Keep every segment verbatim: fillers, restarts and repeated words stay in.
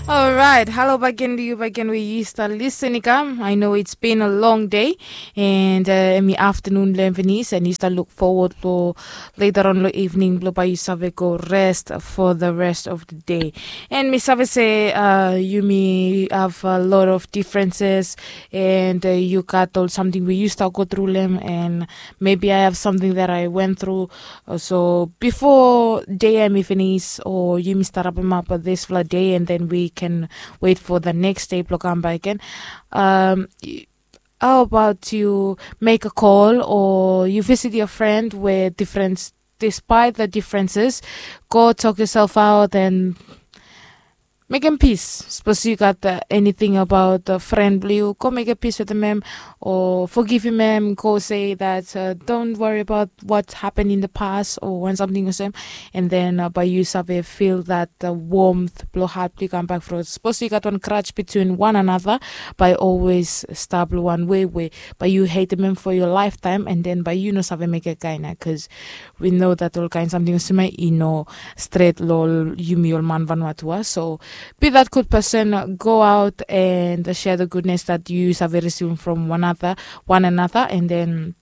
Alright, halo bagen to yu bagen we yu stap listen i kam. I know it's been a long day, and uh, mi afternoon blem finis, and yu stap look forward for later on lo evening blo bai yu save go rest for the rest of the day. And mi save se uh, yumi have a lot of differences, and uh, yu gat ol samting we yu stap go through lem, and maybe I have something that I went through. Uh, so before day em i finis, or yumi stap rapim up uh, this fla day, and then we can wait for the next day blo kam back again. Um, y- how about you make a call, or you visit your friend with different, despite the differences, go talk yourself out and mekem pis. Sapos yu gat uh, anything about uh, friend blo yu, go mekem pis wetem em, o fogivim em, go say that uh, don't worry about what happened in the past o wan samting olsem. And then uh, bai yu save feel that uh, warmth blo hat blo yu kam bak fro. Sapos yu gat wan grudge between one another, bai always stap lo wan way we bai yu hatem em for your lifetime, and then bai yu no save mekem kaen ia, bikos we know that ol kaen samting olsem ia i no stret lo ol yumi ol man Vanuatu. So be that good person, go out and share the goodness that you save receive from one another, one another, and then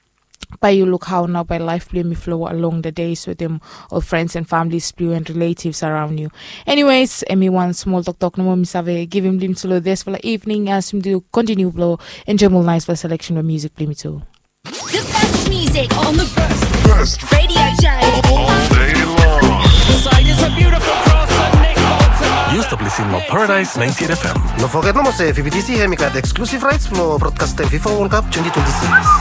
bai yu luk hao nao bai laef blo yumi flow along the days wetem ol friends and families blo yu and relatives around you. Anyways, em i wan small toktok nomo mi save givim blo yumi tu lo this fala evening as yumi tu continue blo enjoim ol nice fala selection blo music blo yumi tu. The best music on the best radio show. All day long. Yu stap lisin lo Paradise ninety-eight F M. No foget nomo se V B T C hem i gat exclusive rights blo broadcastem FIFA World Cup twenty twenty-six.